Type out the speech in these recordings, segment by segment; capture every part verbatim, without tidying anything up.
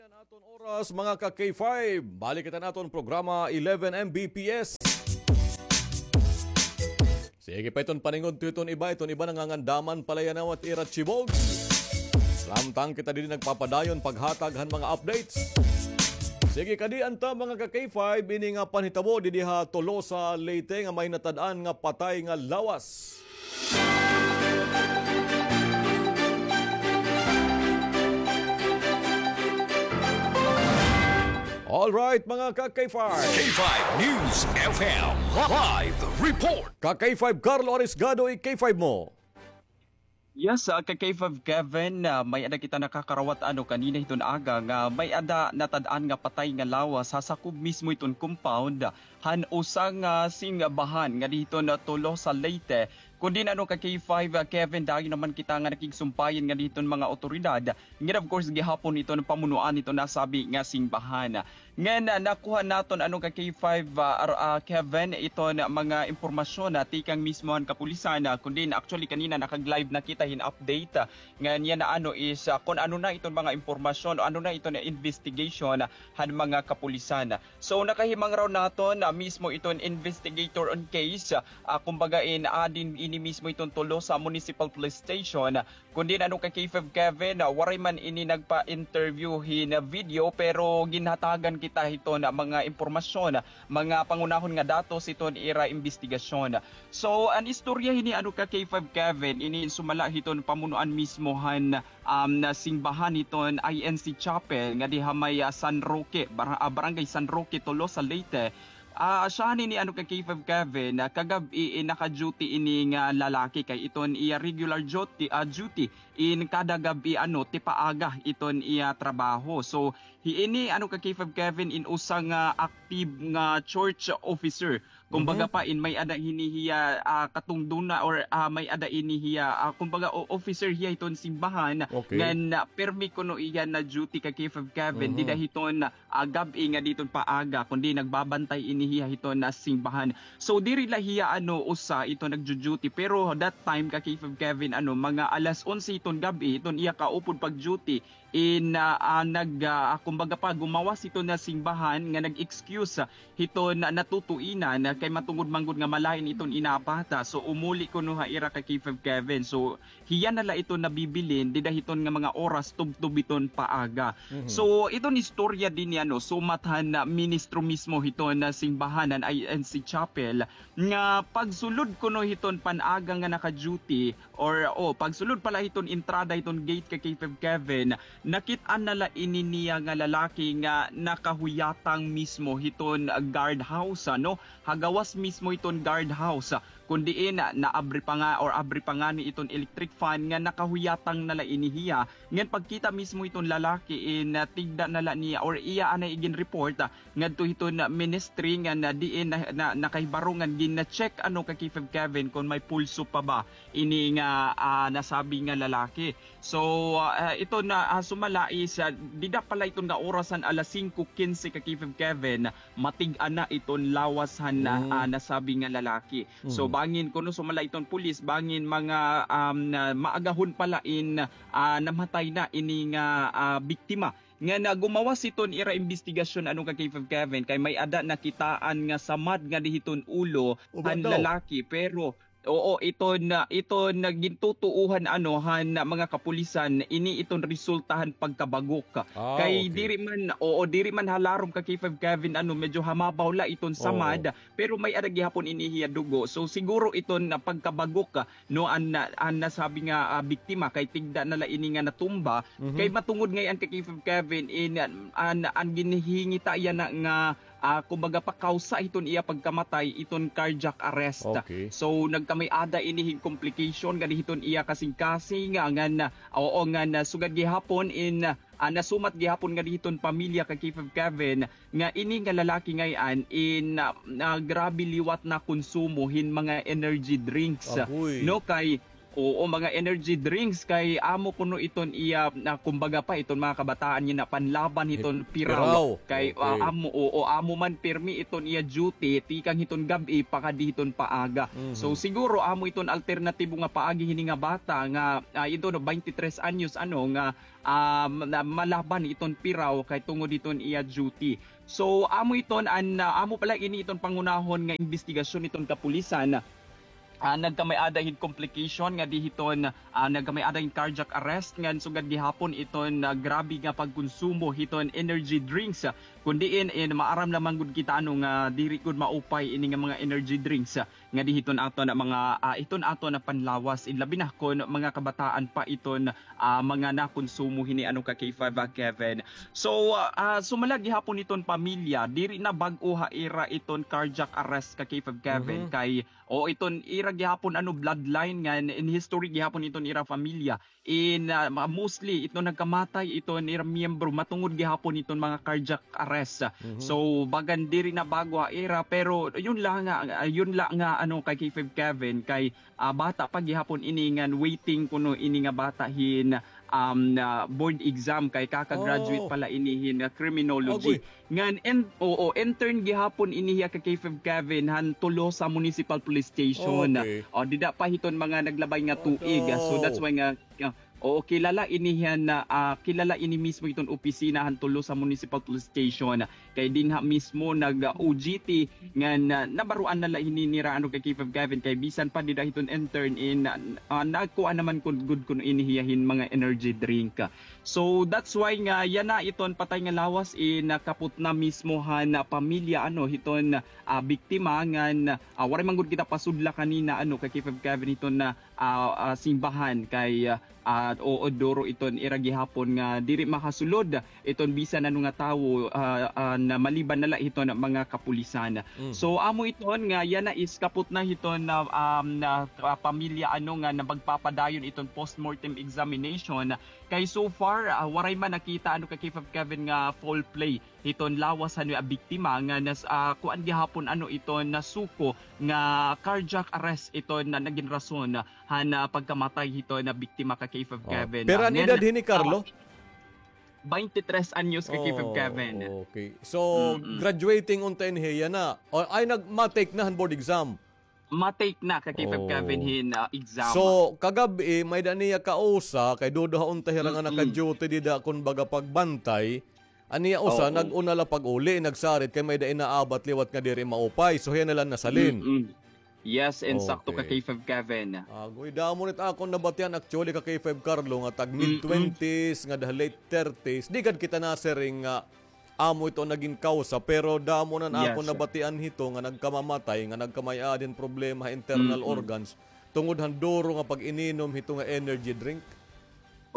Aton oras, mga ka-K five. Balik kita naton programa, eleven M B P S. Sige pa iton paningudto iton iba, iton iba nangangandaman palayan awat ira chibog. Samtang kita didi nagpapadayon paghatag han mga updates. Sige, kadi anta, mga ka-K five, ini nga panhitabo didi ha Tolosa, Leyte nga may natad-an nga patay nga lawas. All right, mga ka-K five. K five News F M live report. Ka-K five Carlo Arisgado, i-K five mo. Yes, ah, ka-K five Kevin, ah, may-ada kita nakakarawat ano kanina hiton aga nga may-ada natad-an nga patay nga lawas ha sakob mismo hiton compound han usa nga simbahan ngadi hiton Tolosa, Leyte. Kundi ano, ka-K five, ah, Kevin, dayon naman kita nga nakigsumpayan ngadi hiton mga awtoridad. Ngan of course gihapon hiton pamunuan hiton nasabi nga simbahan. Ngan, ah, nakuha naton ano, ka-K five, ah, ar-, ah, Kevin, iton mga impormasyon, ah, tikang mismo han kapulisan, ah, kundi actually kanina nakag-live na kita hin update, ah, ngan yana ano is, ah, kon ano na iton mga impormasyon o ano na iton investigation, ah, han mga kapulisan. So nakahimang raw naton, ah, mismo iton investigator on case, ah, kumbaga in, ah, din ini mismo iton Tolosa Municipal Police Station, kundi ano, ka-K five Kevin, ah, waray man ini nagpa-interview hin video, pero ginhatagan kita hiton mga impormasyon, mga pangunahon nga datos hiton ira imbestigasyon. So an istorya hini ano, ka-K five Kevin, ini sumala hiton pamunuan mismo han, um, simbahan hiton I N C Chapel ngadi ha may, ah, San Roque, bar-, ah, Barangay San Roque, Tolosa, Leyte. Ah, asya han ini ano, ka-K five Kevin, ah, kagab-i, eh, naka-duty ini nga lalaki kay iton iya regular duty, ah, duty in kada gab-i ano, tipaaga iton iya trabaho. So hi ini ano, ka-K five Kevin, in usa nga active nga church officer. Kumbaga pa in may-ada hini hiya, ah, katungduna or, ah, may-ada ini hiya, ah, kumbaga o-, officer hiya hiton simbahan. Okay. Ngan, ah, pirmi kuno iya na duty, ka-K five Kevin, dida hiton ah, gab-i ngadi hiton paaga, kundi nagbabantay ini hiya hiton simbahan. So diri la hiya ano usa iton nagdu-duty, pero that time, ka-K five Kevin, ano, mga alas onse hiton gab-i hiton iya kaupod pag-duty, in, ah, ah, nag, ah, kumbaga pa, gumawas hiton simbahan nga nag-excuse, ah, hiton natutuinan, ah, kay matungod man gud nga malain iton inabata. So umuli kuno ha ira, ka-K five Kevin. So hiya na la iton nabibilin dida hiton nga mga oras tubtob hiton paaga. So iton istorya dinhi ano, sumat han, ah, ministro mismo hiton, ah, simbahan han I N C Chapel nga pagsulod kuno hiton pan-aga nga naka-duty or, o, pagsulod pa la hiton entrada hiton gate, ka-K five Kevin, nakit-an na la ini niya nga lalaki nga nakahuyatang mismo hiton guard house, ano, ha gawas mismo hiton guard house. Kon diin, ah, naabri pa nga or abri pa ngani iton electric fan nga nakahuyatang na la ini hiya. Ngan pagkita mismo iton lalaki, eh, natigda na la niya or iya anay igin-report, ah, ngadto hiton ministry nga na diin na, na, nakahibaro ngan gin-check ano, ka-K five Kevin, kon may pulso pa ba ini nga, ah, nasabi nga lalaki. So, ah, iton na, ah, sumala is, ah, dida pa la iton nga oras han alas singko kinse, ka-K five Kevin, matig-an na iton lawas han, ah, nasabi nga lalaki. So bangin kuno sumala iton pulis, bangin mga, um, na maagahon pa la in, ah, namatay na ini nga, ah, biktima. Ngan gumawas hiton ira imbestigasyon ano, ka-K five Kevin, kay may-ada nakitaan nga samad ngadi hiton ulo han lalaki, pero oo, iton, ah, iton gintutuohan ano han mga kapulisan, ini iton resulta han pagkabagok. Kay diri man, oo, diri man ha larom, ka-K five Kevin, ano, medyo ha mabaw la iton samad, pero may-ada gihapon ini hiya dugo. So siguro iton pagkabagok, ah, no, an, an nasabi nga, ah, biktima kay tigda na la ini nga natumba. Kay matungod ngay-an, ka-K five Kevin, in, an, an ginhingita yana nga, ah, kumbaga pa, kawsa hiton iya pagkamatay iton cardiac arrest. So nagkamay-ada ini hin complication ngadi hiton iya kasingkasing, ah, ngan, ah, oo, ngan, ah, sugad gihapon in, ah, nasumat gihapon ngadi hiton pamilya, ka-K five Kevin, nga ini nga lalaki ngay-an in, ah, ah, grabe liwat nakonsumo hin mga energy drinks. No, kay, Oo, mga energy drinks kay amo kuno iton iya, na kumbaga pa iton mga kabataan niya na panlaban hiton piraw. Piraw. Kay, ah, okay, amo, oo, amo man pirmi iton iya duty, tikang hiton gab-i pakadi hiton paaga. Mhm. So, siguro amo iton alternatibo nga paagi hini nga bata nga, ah, ito no, twenty-three anyos, ano, nga, ah, ma-, malaban iton piraw kay tungod iton iya duty. So, amo iton an, ah, amo pala ini iton pangunahon nga imbestigasyon iton kapulisan. Ah, nagkamay-ada hin complication nga di hiton, ah, nagkamay-ada hin cardiac arrest ngan sugad gihapon iton, ah, grabe nga pagkonsumo hiton energy drinks. Kun diin, in, maaram lamang gud kita, ano, nga diri gud maupay ini nga mga energy drinks, ah, nga di hiton aton mga, ah, hiton aton panlawas, in labi na kon mga kabataan pa iton, ah, mga nakonsumo hini, ano, ka K five, ah, Kevin. So, ah, ah, sumala gihapon iton pamilya, diri na bag-o ha ira iton cardiac arrest ka K five, Kevin, mhm, kay o iton ira gihapon, ano, bloodline ngan in history gihapon iton ira pamilya. In, ah, ma-, mostly iton nagkamatay iton ira miyembro matungod gihapon iton mga cardiac arrest. Mhm. So, bagan diri na bag-o ha ira, pero yun la nga, ah, yun la nga, ano, kay K five Kevin, kay, ah, bata pa gihapon ini ngan waiting kuno ini nga bata hin, um, ah, board exam kay kaka-graduate, oh, pala ini hin, ah, criminology. Agoy. Ngan, en-, oo, intern gihapon ini hiya ka K five Kevin han Tolosa Municipal Police Station. Okay. O, dida pa hiton mga naglabay nga tuig. So, that's why nga, ah, oo, kilala ini hiya na, ah, kilala ini mismo iton opisina han Tolosa Municipal Police Station. Kay dinha mismo nag, ah, O G T, ngan, ah, nabaruan na la hini nira, ano, ka K five Kevin, kay bisan pa dida hiton intern in, ah, ah, nagkuan naman kun, gud kun ini hiya hin mga energy drink. So, that's why nga yana iton patay nga lawas in, ah, kapot na mismo han, ah, pamilya, ano, hiton, ah, biktima ngan, ah, waray man gud kita pasudla kanina, ano, ka K five Kevin hiton na, ah, ah, simbahan kay, ah, ah, oo, duro iton ira gihapon nga diri makasulod iton bisan ano nga tawo, ah, ah, na maliban na la hiton mga kapulisan. Mm. So, amo iton nga yana is kapot na hiton na, um, na, ah, pamilya, ano, nga na magpapadayon iton postmortem examination. Kay so far, ah, waray man nakita, ano, ka K five Kevin nga foul play hiton lawas han, ah, biktima nga nas-, ah, kuan gihapon, ano, iton nasuko nga cardiac arrest iton na nagin rason han, ah, pagkamatay hiton na biktima ka K five Kevin. Pero an edad hini, Carlo? Twenty-three anyos ka K five Kevin. Oh, okay. So, mm-mm, graduating unta ini hiya na. O, ay, nag-, ma-take na han board exam. Ma-take na ka K five Kevin hin, ah, exam. So, kagab-i, may-ada niya kausa, kay duduha unta hira nga naka-duty dida, kun baga pagbantay. An iya usa, nag-una la pag-uli, nagsarit kay may-ada inaabat liwat nga diri maupay. So, hiya na la nasalin. Mm-mm. Yes, insakto ka K five Kevin. Agoy, damo na it akon nabatian actually ka K five Carlo nga tag mid twenties, nga da late thirties. Di gad kita nasiring nga amo ito nagin kausa, pero damo na an akon nabatian hito nga nagkamamatay, nga nagkamay-ada hin problema ha internal organs tungod han duro nga pag-ininom hito nga energy drink.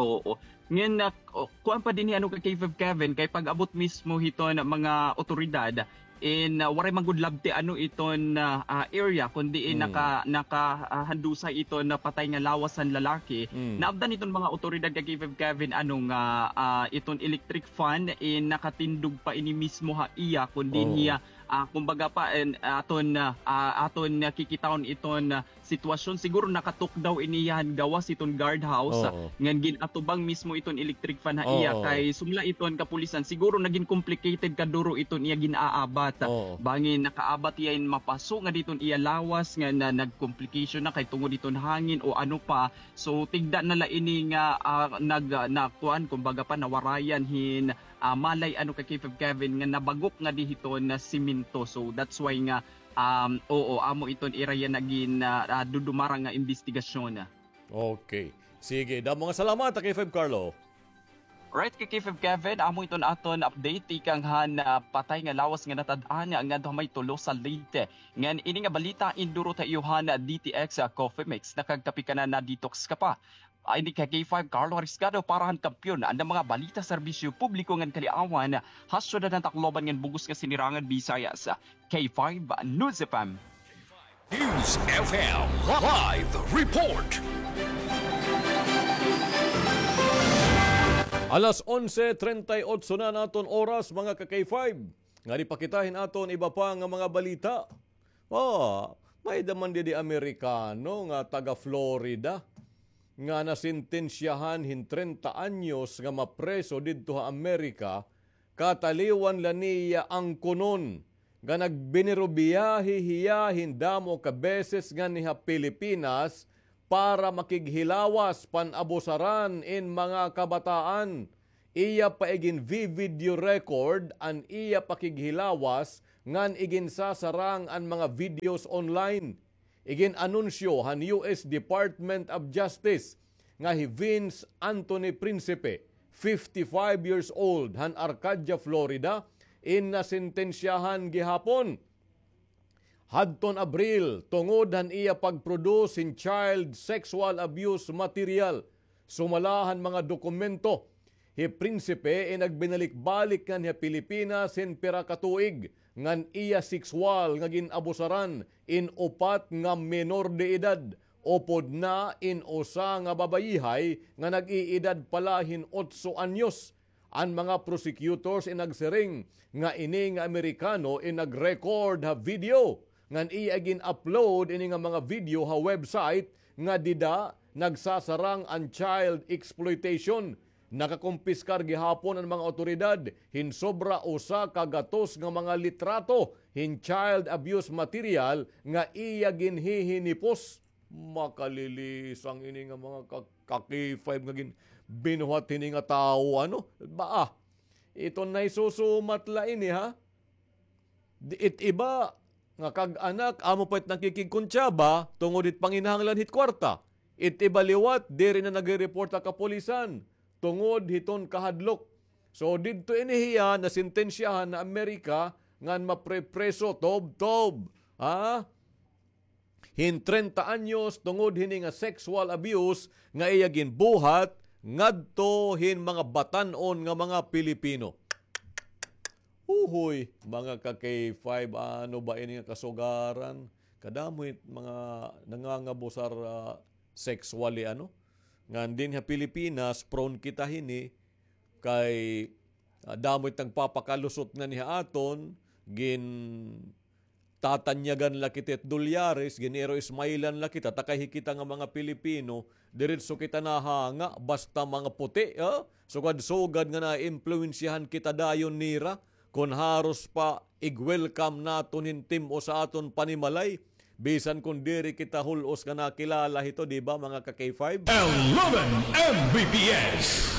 Oo. Ngan, ah, o, kuan pa dinhi, ano, ka K five Kevin, kay pag-abot mismo hiton mga otoridad, in, ah, waray man gud labti, ano, iton, ah, ah, area, kundi in naka-, naka-, ah, handusay iton patay nga lawas han lalaki. Mm. Naabtan iton mga otoridad ka K five Kevin, ano, nga, ah, iton electric fan, in nakatindog pa ini mismo ha iya, kundi hiya, ah, kumbaga pa, in, aton, ah, ah, aton nakikitaon iton, ah, sitwasyon. Siguro nakatukdaw ini hiya han gawas hiton guard house, ah, ngan gin-atubang mismo iton electric fan ha iya, kay sumala iton kapulisan, siguro nagin complicated kaduro iton iya gin-aabat. Bangin nakaabat hiya hin mapaso ngadi iton iya lawas nga na, nag-complication na kay tungod iton hangin o ano pa. So, tigda na la ini nga, ah, nag, ah, na, kuan, kumbaga pa, nawarayan hin, ah, malay, ano, ka K five Kevin nga nabagok ngadi hiton na semento. So, that's why nga Um, oo, amo iton ira yana gin, ah, ah, dudumara nga imbestigasyon. Okay. Sige, damo nga salamat, K five Carlo. Right, ka K five Kevin, amo iton aton update tikang han, ah, patay nga lawas nga natad-an ngadto ha may Tolosa, Leyte. Ngan ini nga balita indurot ha iyo han D T X, ah, Coffee Mix. Nakagkape ka na, na-detox ka pa. Ini ka K five Carlo Ariscado para han Kampiyon, an mga balita, serbisyo publiko ngan kaliawan ha syudad han Tacloban ngan bug-os nga Sinirangan Visayas. K five News F M. News F M live report. Alas onse treinta y ocho na an aton oras, mga ka K five. Ngadi pa kita hin aton iba pa nga mga balita. Oh, may-ada man didi Amerikano nga taga Florida. nga nasentensyahan hin trenta anyos nga mapreso didto ha Amerika, kataliwan la niya angkonon nga nagbinirubiyahe hiya hin damo ka beses nganhi ha Pilipinas para makighilawas, pan-abusaran in mga kabataan. Iya pa igin-vi-video record an iya pakighilawas ngan iginsasarang an mga videos online. Igin-anunsyo han U S Department of Justice nga hi Vince Anthony Principe, fifty-five years old, han Arcadia, Florida, in nasentensyahan gihapon hadton Abril tungod han iya pag-produce hin child sexual abuse material. Sumala han mga dokumento, hi Prinsipe in nagbinalik-balik nganhi ha Pilipinas hin pira ka tuig ngan iya sexual nga gin-abusaran in upat nga menor de edad, upod na in usa nga babayihay nga nag-iidad pa la hin otso anyos. An mga prosecutors in nagsiring nga ini nga Amerikano in nag-record ha video ngan iya gin-upload ini nga mga video ha website nga dida nagsasarang an child exploitation. Nakakumpiskar gihapon an mga awtoridad hin sobra usa ka gatos nga mga litrato hin child abuse material nga iya ginhihinipos. Makalilisang ini nga mga ka-, ka-K five nga gin-, binuhat hini nga tawo, ano? Baa, iton nahisusumat la ini, ha? Di-, it iba nga kag-anak, amo pa it nakikigkuntsaba tungod hit panginahanglan hit kwarta. It iba liwat, diri na nagre-report ha kapulisan tungod hiton kahadlok. So, didto ini hiya nasentensyahan na Amerika ngan maprepreso, tubtob. Ha? Hin trenta anyos tungod hini nga sexual abuse nga iya ginbuhat ngadto hin mga batan-on nga mga Pilipino. Uhoy, mga ka-K five, ano ba ini nga kasugaran? Kadamo it mga nangangabusar, ah, sexually, ano? Ngan dinhi ha Pilipinas, prone kita hini kay, ah, damo it nagpapakalusot nganhi ha aton, gin-, tatanyagan la kita it dolyares, gin-iro-smile-an la kita, ta kay hi kita nga mga Pilipino, diretso kita nahanga, basta mga puti, ha? Sugad-sugad nga naimpluwensyahan kita dayon nira, kon haros pa ig-welcome naton hin tim-o sa aton panimalay, bisan kon diri kita hul-os nga nakilala hito, di ba, mga ka-K five? Eleven M B P S.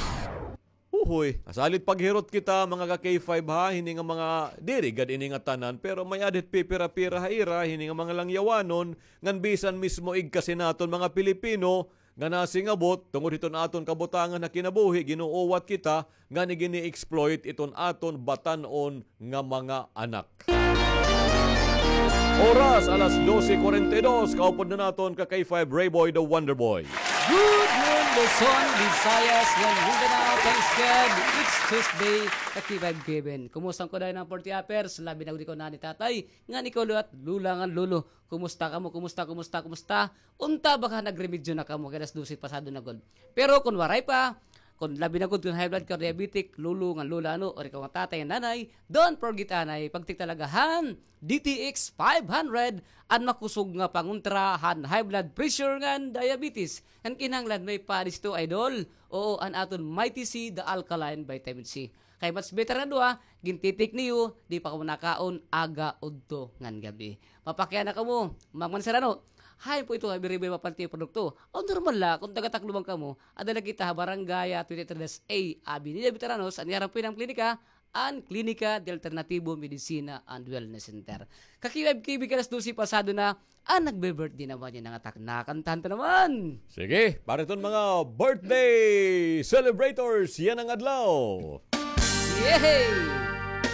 Uhoy, salit paghirot kita, mga ka-K five, ha, hini nga mga, diri gad ini nga tanan, pero may-ada hit pipira-pira ha ira, hini nga mga langyawanon, ngan bisan mismo igkasi naton mga Pilipino, nga nasingabot, tungod hiton aton kabutangan ha kinabuhi, gin-uuwat kita, ngan igini-exploit iton aton batan-on nga mga anak. Oras, alas dose cuarenta y dos, kaupod na naton ka-K five Rayboy the Wonder Boy. Good noon, Luzon, Visayas, ngan Mindanao. Thanks God, it's Tuesday. Ka-K five Kevin. Kumusta ko dayon an forty uppers? Labi na gud ko na ni tatay. Ngan ikaw liwat, lula ngan lolo. Kumusta kamo? Kumusta, kumusta, kumusta? Unta ba ka nagremedyo na kamo kay alas dose pasado na gud? Pero kon waray pa, kon labi na gud kon high blood ka, diabetic, lolo ngan lola, ano, or ikaw nga tatay ngan nanay, don't forget anay, pagtik talaga han D T X five hundred, an makusog nga pangontra han high blood pressure ngan diabetes. Ngan kinahanglan may pares ito, idol. Oo, an aton Mighty C, the alkaline vitamin C. Kay mas better na duha, gintitik niyo, di pa kamo nakaon, aga, udto, ngan gab-i. Mapakiana kamo, Mang Manserano, hain po ito nga biriboy mapanti produkto? Aw, normal la, kon taga-Tacloban kamo, ada la kita ha Barangay, ah, twenty-three dash A, Avenida Veteranos, an iya harap po ini nga klinika, an Klinika de Alternativo Medicina and Wellness Center. Ka-K five K B kay alas dose pasado na, an nagbe-birthday naman yana nga aton, kantahan ta naman. Sige, para iton mga birthday celebrators yana nga adlaw. Yehey!